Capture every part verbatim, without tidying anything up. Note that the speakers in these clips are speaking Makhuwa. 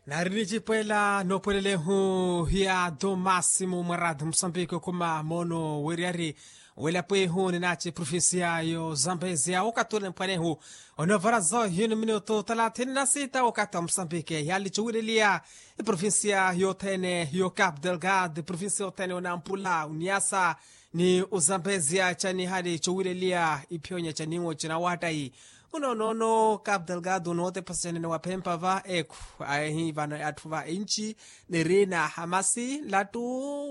Nari nicipo ela noopwelelehu ya do massimu mwa radi musambiki okhuma moono weriyari, welapo ehu ninaci provincia yo zambezia okatule mpwanehu. Onovarazo hino minutu talathini na sita okata musambiki yali cowileliya. Provincia yothene yo cap delgado provincia yothene onampula uniasa ni uzambezia cani hali cowileliya ipyonya caniwo cinawattayi. Uno nono cap delgado nootepasa canene waphempa va ekhu aehi vano atthu va enci niri na hamasi nlattu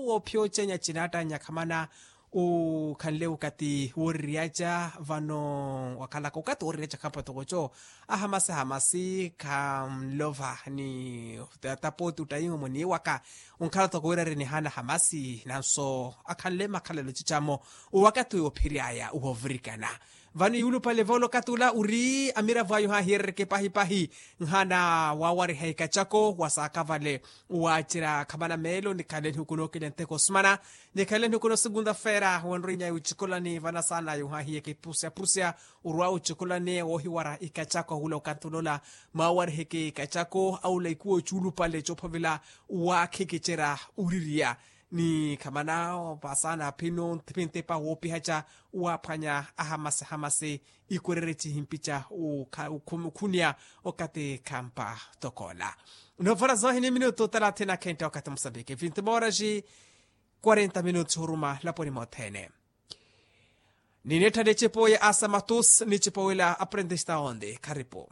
wophyocenya cinattanya khamana. Ukhanle ukati wooririyaca vano wakhalaka ukati wooririyaca khampwa toko co ahamasi hamasi khanlova ni tapoti uttayiho muniwaka. Unkhala toko wirari nihana hamasi nanso akhanle makhalelo cicamo uwakati uyo ophiryaya uhovurikana. Vano yuulupale voolo katula uri amiravo ayo hahiyerereke pahipahi nhana wawariha ikacako wasaakavale. Wacerya khamana meelo nikhale nihukunookele nteko osumana nikhale nihukuno segunda feera wanrinya yucikolani vanasaana yuhahiyeke pusyapusya. Urwa ucikolani wohiwara ikacako ahula okantulola mwawariheke ikacako aula ikuwo cuulupale coophovela. Wakhekecerya uririya ni khamana vasaana phino ntipintipa woopihaca waphwanya ahamasi hamasi. Ikurereci himpica ukhuniya okati khampa tokoola. Novora zohini minutu talathini akhentta okati musambiki vinti moraxi quarenta minutu oruma laponi mothene. Ninettha nicipo ya asamatus nicipo wila aprendista onde kharipo.